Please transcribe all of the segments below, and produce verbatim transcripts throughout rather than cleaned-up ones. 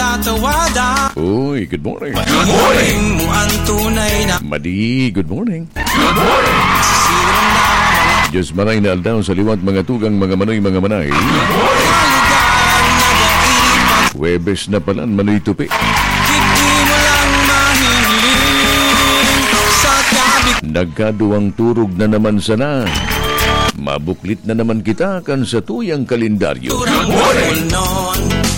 Tatawada. Uy, good morning. Good morning. Mo ang tunay na Madi, good morning. Sisirang na Diyos maray na aldaw sa liwat, mga tugang, mga manoy, mga manay. Lugar na daipat. Huwebes na palan, manoy tupi. Hindi mo lang mahiling sa kabig- Nagkaduwang turog na naman sana. Mabuklit na naman kita kan satuyang kalendaryo. Turang noon.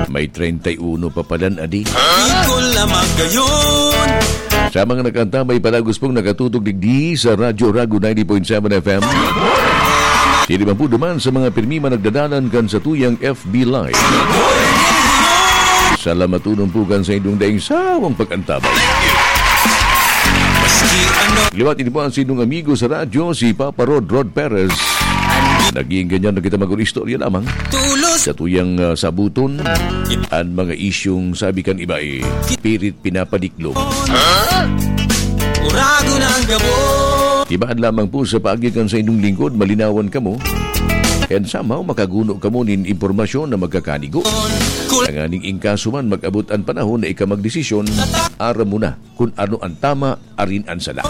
May treinta y uno pa palan, adi. Di ko lamang gayon. Sa mga nakaantabay, palagos pong nakatutok digdi sa Radyo Rago ninety point seven F M. Sino man po duman sa mga pirmi man nagdadalan kan satuyang F B Live. Salamaton po kan sa indong daing sawang pag-antabay. Maski ano. Liwat ini po ang sinong amigo sa radyo, si Papa Rod, Rod Perez. Naging ganyan na kita mag-istorya lamang. Tulos. Sa tuyang, ah, sabuton, an mga isyong sabi kan iba, eh, pirit pinapadiklom. Uragon ang gabos. Ibaan lamang po sa paagi kan sa inyong lingkod, malinawan kamo. And somehow, makaguno kamo nin impormasyon na magkakanigo. Tanganing in kaso man, mag-abot an panahon na ika magdesisyon, aram mo na kun ano an tama, arin an sala.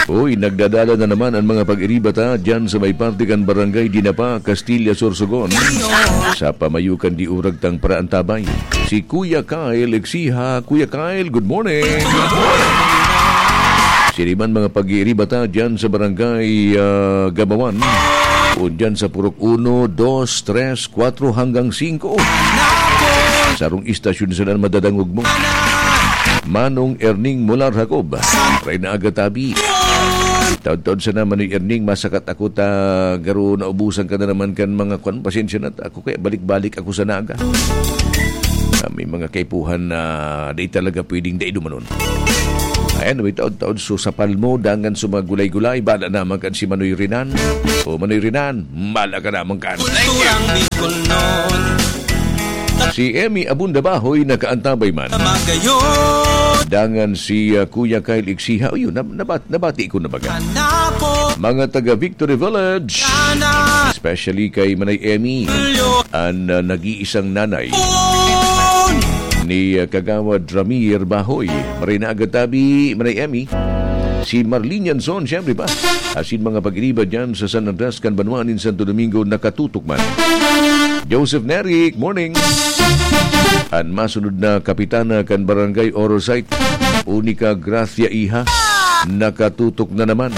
Uy, nagdadala na naman ang mga pag-iriba ta dyan sa may parte kan Barangay Dinapa, Castilla, Sorsogon. Sa pamayo kan diurag tang paraantabay. Si Kuya Kyle Exiha. Kuya Kyle, good morning. Siriman mga pag-iiriba ta dyan sa Barangay, ah, Gabawan. O dyan sa Purok uno, dos, tres, kwatro hanggang singko. Sarong istasyon sana madadangog mo. Manong Erning Mular Jacob. Reyna Agatabi. Taod-taod sana, Manoy Erning, masakat ako ta garo naubusan ka na naman kan mga kwan, pasensya na ta ako, kaya balik-balik ako sa Naga. Ah, may mga kaipuhan na di talaga pwedeng dai dumanon. Ayan, may taod-taod, so, sa palmo, dangan sa mga gulay-gulay, bala naman kan si Manoy Rinan. O, Manoy Rinan, bala ka naman kan. Kulturang Bicol noon. Si Emmy Abunda Bahoy nakaantabay man. Magayon. Dangan si, ah, Kuya Kyle Iksiha. O, yun, nab-, nabat-, nabati ko na baga. Hanapo. Mga taga Victory Village. Sana. Especially kay Manay Emmy. An, ah, nag-iisang nanay ni, ah, Kagawad Ramir Bahoy. Maray na agad tabi, Manay Emmy. Si Marlene Yanson, siyempre pa. Asin mga pag-iriba dyan sa San Andres kan banwa nin Santo Domingo, nakatutok man. Joseph Neric, morning. An masunod na kapitana kan Barangay Oro Site, Unica Gracia Iha, nakatutok na naman.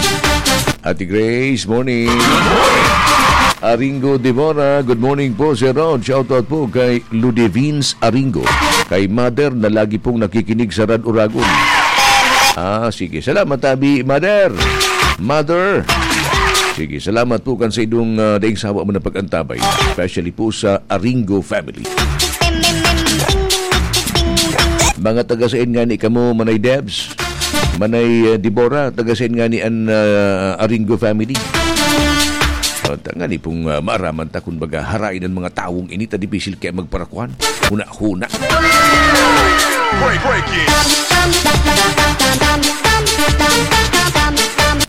Ate Grace, morning. Aringo Devora, good morning po, Sir Rod. Shoutout po kay Ludivines Aringo, kay Mother na lagi pong nakikinig sa Rad Uragon. Ah, sige. Salamat, tabi, Mother. Mother. Sige, salamat po kan sa idong, ah, daing sawa mo na pag-antabay, especially po sa Aringo family. Mga taga sain nga ni kamo, Manay Debs? Manay, eh, Deborah, taga sain nga ni an, ah, Aringo family? O, ta-, ngani pong, ah, maaraman ta kun baga harain an mga tawong ini ta dipisil kaya magparakuan. Huna-huna. Break, break it.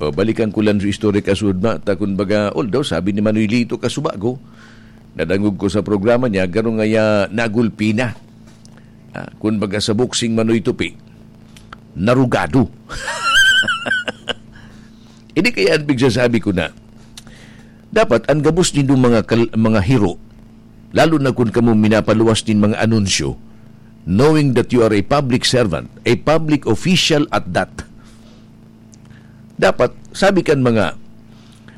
O, balikan ko lang sa istorya kasud ma, ta kun baga, although sabi ni Manoy Lito Kasubago, nadangog ko sa programa niya, garo ngaya nagulpi na. Ah, kun baga sa boxing, Manoy Tupi, narugado. Ini kaya an pigsasabi ko na, dapat an gabos nindong mga kal-, mga hiro, lalo na kun kamo minapaluwas nin mga anunsyo, knowing that you are a public servant, a public official at that, dapat, sabi kan mga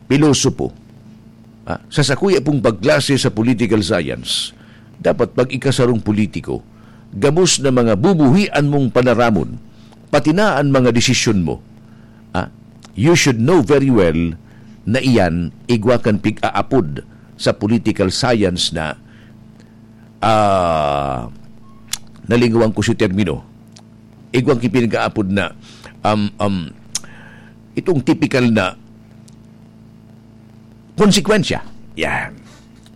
pilosopo, ah, sa sakuya pong pagklase sa political science, dapat pag ikasarong politiko, gabos na mga bubuhian mong panaramon, pati na an mga desisyon mo. Ah, you should know very well na iyan igwa kan pig-aapod sa political science na, ah, nalingawan ko si termino. Igwa kan pinag-aapod na, um, um, itong tipikal na konsekwensya. Yan.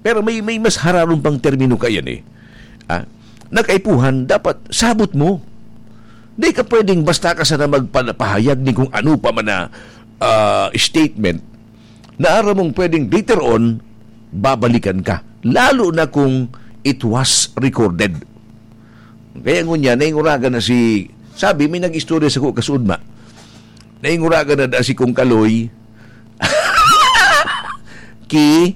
Pero may, may mas hararom pang termino kaiyan eh. Ah, na kaipuhan, dapat sabot mo. Di ka pwedeng basta ka sana magpapahayag ni kung ano pa man na, ah, statement na aram mong pwedeng later on, babalikan ka. Lalo na kung it was recorded. Kaya ngunyan, nainguragan na si, sabi, may nag-istorya sa ko kasudma. Nainguragan na da si Kong Kaloy ki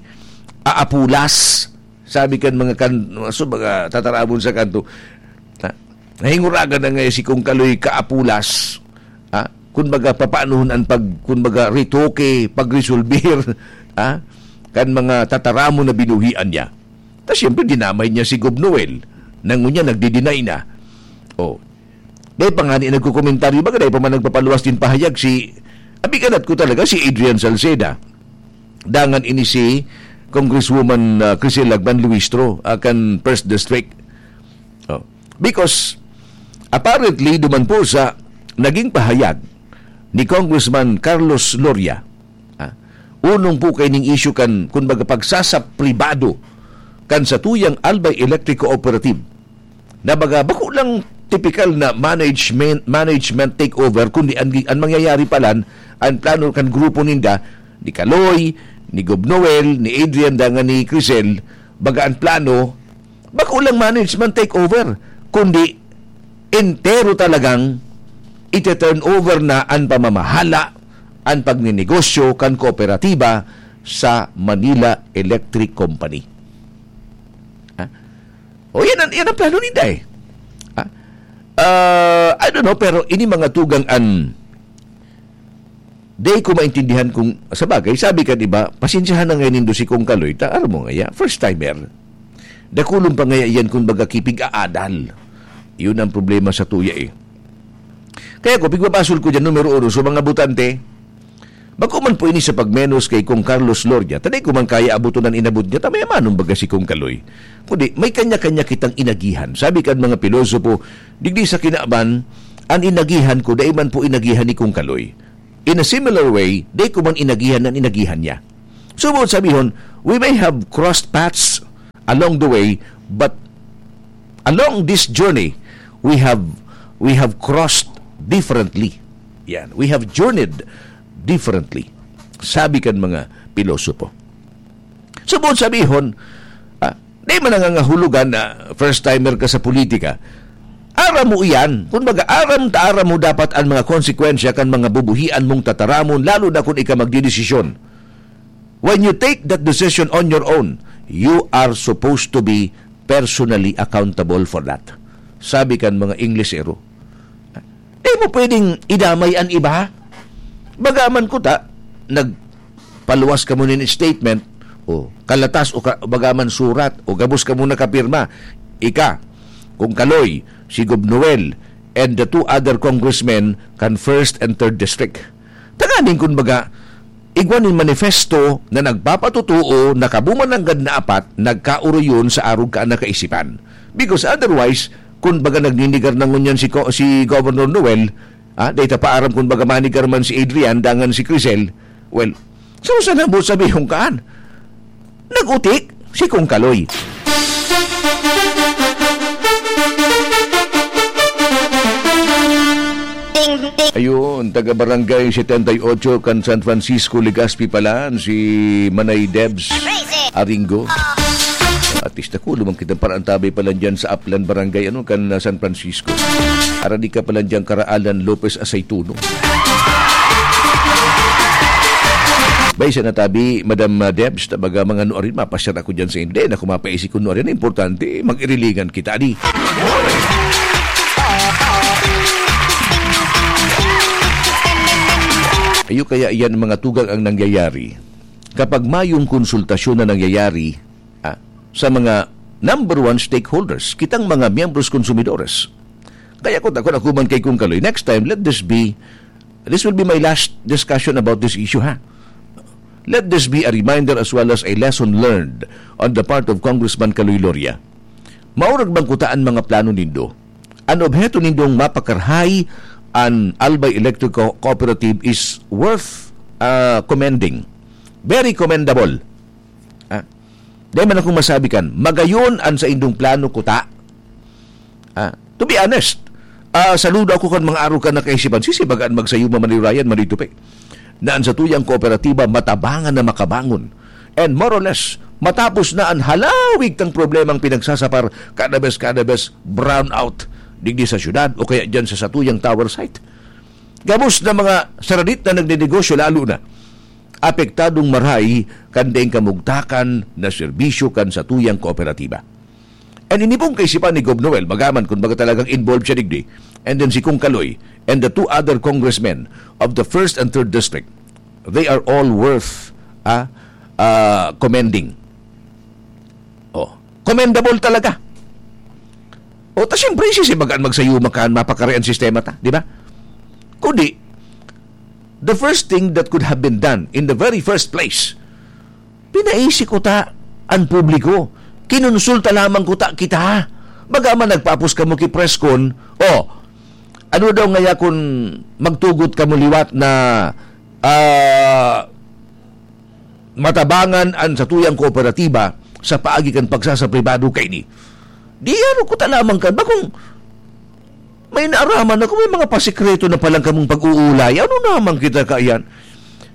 Aapulas. Sabi kan mga kan-, so, mga tataramon sa kanto. Ha? Nainguragan na nga si Kong Kaloy Kaapulas. Ha? Kun baga, papaanohon an pag-, kun baga, retoke, pagresolbir, ha? Kan mga tataramon na binuhian niya. Ta siyempre, dinamay niya si Gob Noel. Nang ngunyan, nagdi-deny na. Oh. Dai pa ngani nagkokomentaryo, baga dai pa man nagpapaluwas nin pahayag si, abi, kanat ko talaga, si Adrian Salceda. Dangan ini si Congresswoman, ah, Crisel Lagman Luistro, ah, kan First District. Oh. Because, apparently, duman po sa naging pahayag ni Congressman Carlos Loria, ah, unong po kaining issue kan, kumbaga, pagsasapribado kan satuyang Albay Electric Cooperative, na baga, bako lang tipikal na management, management takeover, kundi ang, ang mangyayari palan, ang plano kan grupo ninda, ni Kaloy, ni Gob Noel, ni Adrian, dangan ni Crisel, baga ang plano, bako lang management takeover, kundi entero talagang ite-turn over na ang pamamahala, ang pagninegosyo kan kooperatiba sa Manila Electric Company. Ha? O, yan ang, yan ang plano ninda eh. Ha? Ah, I don't know, pero ini mga tugang an dai ko maintindihan kung, sa bagay, sabi kan iba, "Pasensyahan na ngayon nindo si Kong Kaloy, ta aram mo ngaya, first timer. Dakulon pa ngaya yan, kung baga, kipig-aadal." Yun ang problema sa tuya eh. Kaya ko, pigbabasol ko dyan, numero uno, sa mga botante, bako man po ini sa pagmenos kay Kong Carlos Loria, ta dai ko man kaya abuton an inabot niya, ta mayamanon baga si Kong Kaloy. Kundi, may kanya-kanya kitang inagihan. Sabi kan mga pilosopo, digdi sa kinaban, an inagihan ko, dai man po inagihan ni Kong Kaloy. In a similar way, dai ko man inagihan an inagihan niya. So, buot sabihon, we may have crossed paths along the way, but along this journey, we have, we have crossed differently. Yan, we have journeyed differently. Sabi kan mga pilosopo. So, buot sabihon, ah, di man nangangahulugan na first timer ka sa politika. Aram mo iyan. Kung baga, aram ta, aram mo dapat ang mga konsekwensya kan mga bubuhian mong tataramon, lalo na kung ika magdidesisyon. When you take that decision on your own, you are supposed to be personally accountable for that. Sabi kan mga Inglesero, di mo pwedeng idamay an iba. Bagaman kuta, nagpaluwas ka mo nin statement, o kalatas, o ka, bagaman surat, o gabos ka mo nakapirma. Ika, Kong Kaloy, si Gob Noel, and the two other congressmen kan first and third district. Tanganing, kun baga, igwa nin manifesto na nagpapatotoo na kamo man nanggad na apat nagkaoroyon sa arog kan kaisipan. Because otherwise, kun baga, nagninigar na ngunyan si Co-, si Governor Noel, ah, dai ta pa aram kun baga manigar man si Adrian dangan si Crisel, well, so sana mo sabihon kaan? Nag-utik si Kong Kaloy. Ayun, taga Barangay setenta y ocho kan San Francisco, Legazpi pala, si Manay Debs Aringo. At least ako, lumang kitang paraan tabay pala dyan sa Aplan Barangay, ano, kan, ah, San Francisco. Aradi ka pala dyan, Karaalan Lopez Aceituno. Bay, sa natabi, Madam, ah, Debs, tabaga mga ano, arin, mapasyar ako dyan sa hindi. Naku, mapaisip ko, no, arin, importante, mag-irilingan kita, di. Ayo kaya yan, mga tugang ang nangyayari. Kapag mayong konsultasyon na nangyayari, ah, sa mga number one stakeholders, kitang mga miyembros konsumidores. Kaya ko, ako, ako man kay Kong Kaloy, next time, let this be, this will be my last discussion about this issue, ha? Let this be a reminder as well as a lesson learned on the part of Congressman Kaloy Loria. Maurag bang kutaan mga plano nindo? An obheto nindong mapakarahay an Albay Electric Co-, Cooperative is worth, ah, commending. Very commendable. Ah, di man akong masabi kan, magayon an saindong plano kuta. Ah, to be honest, ah, saludo ako kan mga arog kan kaisipan. Sisibagaan magsayo, mamanirayan, manitupi. Na an satuyang kooperatiba matabangan na makabangon. And more or less, matapos na an halawig tang problemang pinagsasapar, kada bes, kada bes, brownout digdi sa syudad o kaya dyan sa satuyang tower site. Gabos na mga saradit na nagninegosyo, lalo na apektadong marahay kan daing kamugtakan na serbisyo kan satuyang kooperatiba. And ini pong kaisipan ni Gob Noel, bagaman kun baga talagang involved siya digdi, and then si Kong Kaloy, and the two other congressmen of the first and third district, they are all worth, ah, ah, commending. Oh, commendable talaga. O, ta siyempre, sisibagaan magsayuma kan mapakari an sistema ta, di ba? Kundi, the first thing that could have been done in the very first place, pinaisi ko ta an publiko. Kinonsulta lamang ko ta kita. Baga man nagpapos kamo ki press con, oh, ano daw ngaya kun magtugot kamo liwat na, ah, matabangan an satuyang kooperatiba sa paagi kan pagsasapribado kaini? Di ano ko ta lamang kan, bakong may naaraman ako, may mga pasikreto na palang kamong pag-uulay. Ano naman kita kaiyan?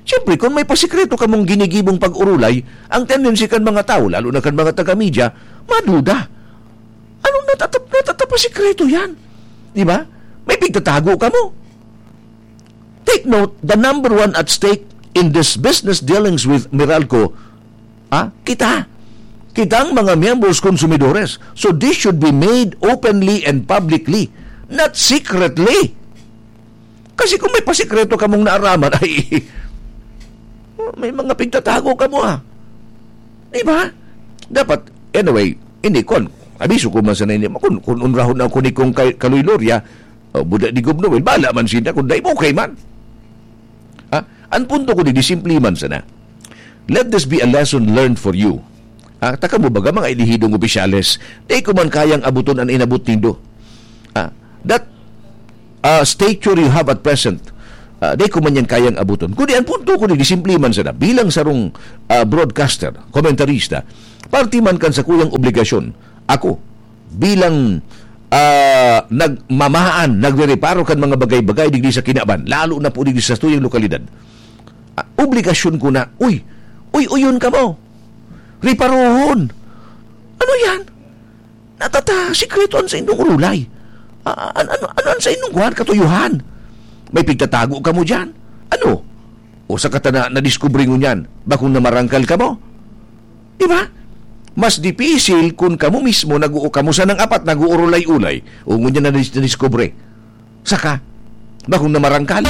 Siyempre, kung may pasikreto kamong ginigibong pag-urulay, ang tendency kan mga tao, lalo na kan mga taga-media, maduda. Anong natatap-, natatapasikreto yan? Di ba? May pigtatago kamo. Take note, the number one at stake in this business dealings with Meralco, ah, kita. Kitang mga miyembros, konsumidores. So this should be made openly and publicly, not secretly. Kasi kung may pasikreto kamong naaraman, ay, may mga pigtatago kamo, ah. Di ba? Dapat, anyway, hindi, kun, abiso ko man sana, hindi, kun, kun unrahon ako ni Kong Kay-, Kaloy Loria, o buda ni Gob Noel, bala man sinda, kung dai mo, okay man. Ha? Ang punto ko, di, di simple man sana. Let this be a lesson learned for you. Ah, taka mo baga, mga elihidong opisyales, di ko man kayang abuton an inabot nindo. Ah, that, ah, stature you have at present, ah, di ko man yan kayang abuton. Kundi ang punto ko, di, di simple man sana. Bilang sarong, ah, broadcaster, komentarista, parte man kan sakuyang obligasyon, ako, bilang, ah, nagmamahaan, nagrereparo kan mga bagay-bagay digdi sa kinaban, lalo na po digdi sa tuyang lokalidad, ah, obligasyon ko na, "Uy, uy, uyon kamo. Reparohon." Ano yan? Natata, sikreto an saindong urulay. Ah, an-, ano, ano an saindong kuwan, katuyuhan? May pigtatago kamo diyan? Ano? O sa katana, nadiskubre ngunyan, bakong namarangkal kamo? Di ba? Mas dipisil kun kamo mismo nag-, kamo sanang apat nag-uurulay-ulay, o ngunyan na nadis-, nadiskubre. Saka, bakong namarangkal?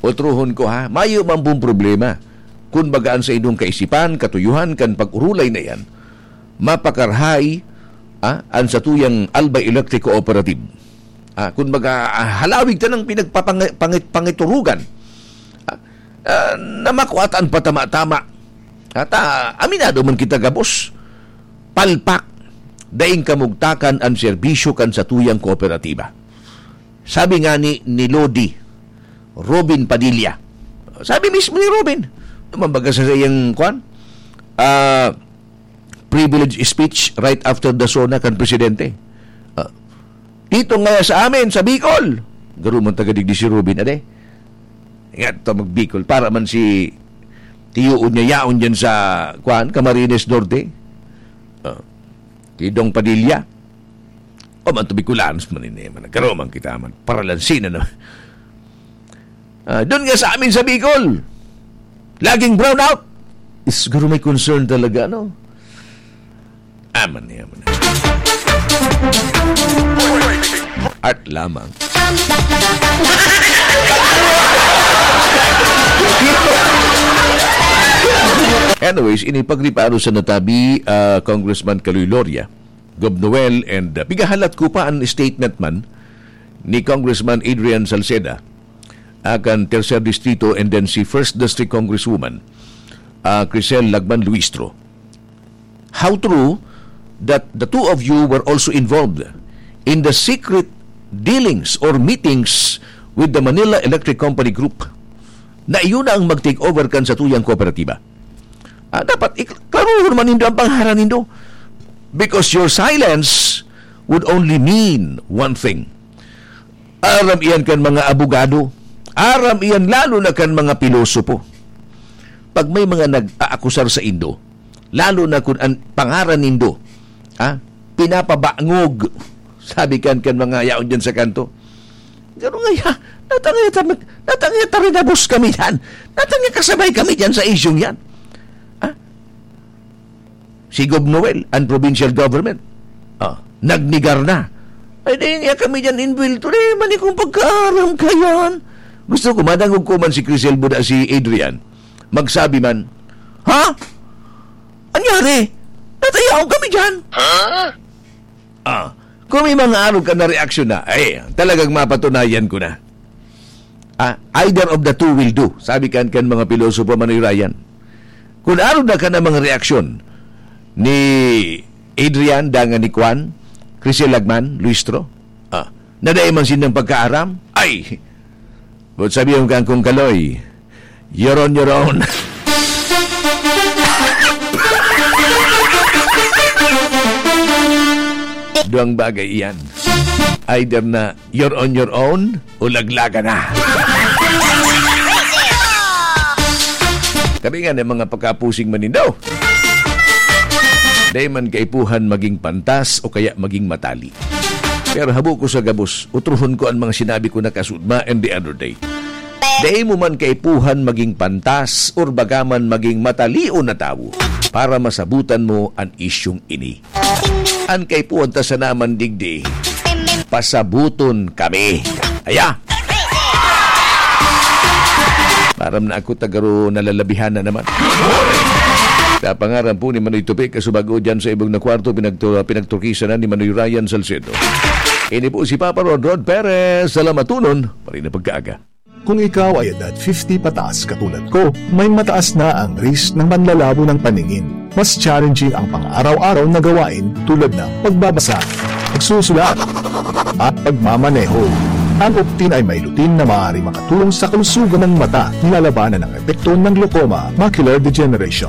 Otrohon ko, ha, mayo man pong problema. Kun baga an saindong kaisipan, katuyuhan kan pag-urulay na yan, mapakarahay, ah, an satuyang Albay Electric Cooperative. Ah, kun baga, ah, halawig ta nang pinagpapang-, pangit-, pangiturugan. Ah, ah, na makuha ta an patama-tama. At, ah, aminado man kita gabos, palpak, daing kamugtakan an serbisyo kan satuyang kooperatiba. Sabi nga ni, ni Lodi, Robin Padilla. Sabi mismo ni Robin, naman baga sa iyang, kwan, ah, privilege speech right after the SONA kan presidente. Ah, dito nga sa amin, sa Bicol, garo man taga digdi si Robin, ade. Nga to mag-Bicol, para man si tiyoon niya yaon dyan sa, kwan, Camarines Norte. Ah, kay Dong Padilla. O man to Bicolanos man ini, man. Nagkaroon man kita man. Paralansin na naman. Ah, doon nga sa amin sa Bicol, laging brownout. Is, garo may concern talaga, no? Aman niya, aman niya. Art lamang. Anyways, ini pagriparo sa natabi, ah, Congressman Kaloy Loria, Gob Noel, and, uh, pigahalat ko pa an statement man ni Congressman Adrian Salceda, akan Tercer Distrito, and then si First District Congresswoman, uh, Crisel Lagman Luistro. How true that the two of you were also involved in the secret dealings or meetings with the Manila Electric Company Group na iyo na ang mag-take over kan satuyang kooperatiba? Ah, dapat ik-, klarohon man nindo ang pangaran nindo. Because your silence would only mean one thing. Aram iyan kan mga abogado. Aram iyan lalo na kan mga pilosopo. pag may mga nag-aakusar saindo, lalo na kun an pangaran nindo, ha, pinapabangog, sabi kan, kan mga yaon diyan sa kanto. Garo ngaya, natangay ta, natangay ta rinabos kami diyan. Natangay kasabay kami diyan sa isyung yan. Ha? Si Gov Noel, ang provincial government, ah, nagnegar na. Ay, di nga kami diyan inbwelto. Di man ikong pagkaaram kayan. Gusto ko, madangog ko man si Crisel Buda, si Adrian. Magsabi man, "Ha? Anyari? Natayaon kami diyan?" Ha? Ah, kung may mga arog ka na reaksyon na, ay, talagang mapatunayan ko na. Ah, either of the two will do, sabi kan, kan mga pilosopo, Manoy Ryan. Kun arog na ka na mga reaksyon ni Adrian, dangan ni Kwan, Crisel Lagman, Luistro, ah, na dai man sindang pagkaaram, ay, but sabi yung kang kung kaloy, you're on your own. Duang bagay iyan. Either na you're on your own o laglagan na. Kami nga ng mga pagkapusing manindo. Dai man kaipuhan maging pantas o kaya maging matali. Pero habo ko sa gabos, utrohon ko ang mga sinabi ko na kasudma and the other day. Dai mo man kaipuhan maging pantas or baga man maging matalion na tawo para masabutan mo an isyong ini. An kaipuhan ta sana man digdi, pasabuton kami. Aya! Aram na ako, tagaro nalalabihan na naman. Sa pangaran po ni Manoy Tupi, kasubago dyan sa ibong na kwarto, pinagtu-, pinagturkisan na ni Manoy Ryan Salcedo. Ini po si Papa Rod, Rod Perez. Salamaton, parin na pagkaaga. Kung ikaw ay edad fifty pataas katulad ko, may mataas na ang risk ng panlalabo ng paningin. Mas challenging ang pang-araw-araw na gawain tulad ng pagbabasa, pagsusulat, at pagmamaneho. Ang Optin ay may lutein na maaari makatulong sa kalusugan ng mata, nilalabanan ang epekto ng glaucoma, macular degeneration,